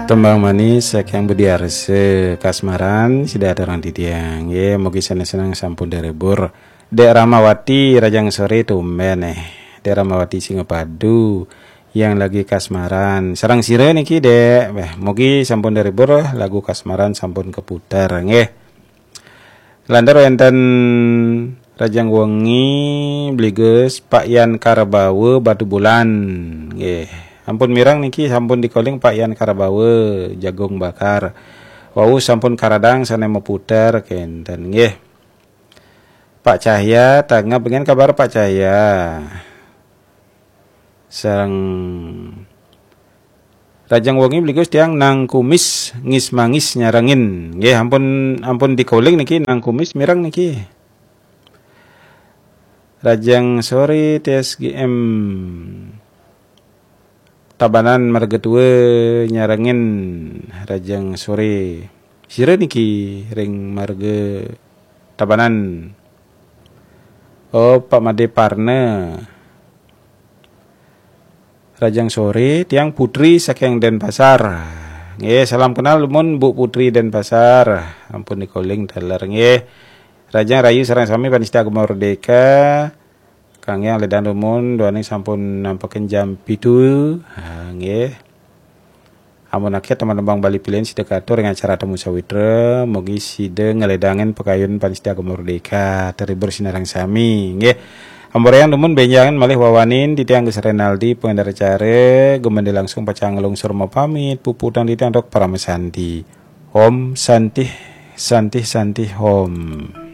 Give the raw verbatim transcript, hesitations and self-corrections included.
Tembang manis saking Budi Arse, Kasmaran, sida aturang titiang. Nggih, mugi seneng-seneng sampun terhibur. Dek Ramawati, Rajang Sore tumben eh. Dek Ramawati Singapadu yang lagi kasmaran. Sareng sira niki, Dek. Weh, mugi sampun terhibur, lagu kasmaran sampun keputar nggih. Lantur wenten Rajang Wengi, Bligus, Pak Yan Karabawa, Batubulan. Nggih. Ampun mireng niki, sampun dikoling Pak Yan Karabawa, Jagung Bakar. Wau sampun karadang sane meputer kenten nggih. Pak Cahya, tangep, nggih, kabar Pak Cahya. Sareng Rajang Wengi, Bligus, tiang Nang Kumis, ngis mangis nyarengin. Nggih, ampun, ampun dikoling niki, Nang Kumis mireng niki. Rajang Sore, T S G M Tabanan Marga Tua nyarengin, Rajang Sore. Sira niki ring Marga Tabanan? Oh, Pak Made Parna. Rajang Sore, tiang Putri saking Denpasar. Nggih, salam kenal dumun Bu Putri Denpasar. Ampun dikoling taler nggih. Rajang rahayu sareng sami panista Agama Merdeka. Kangge ngledang dumun, duaning sampun nampekin jam pitu. Ha, nggih. Amun akhir teman tembang Bali pilihan sida katur ring acara Temu Sawitra, mugi sida ngledangin pakayun panista Agama Merdeka, terhibur sinareng sami, nggih. Ambrayang dumun benjangan malih wawanin titiang Gus Renaldi, pengendara acara, gumende langsung pacang nglungsur mapamit, puputang titiang dok parama santi. Om Santih, Santih, Santih, Om.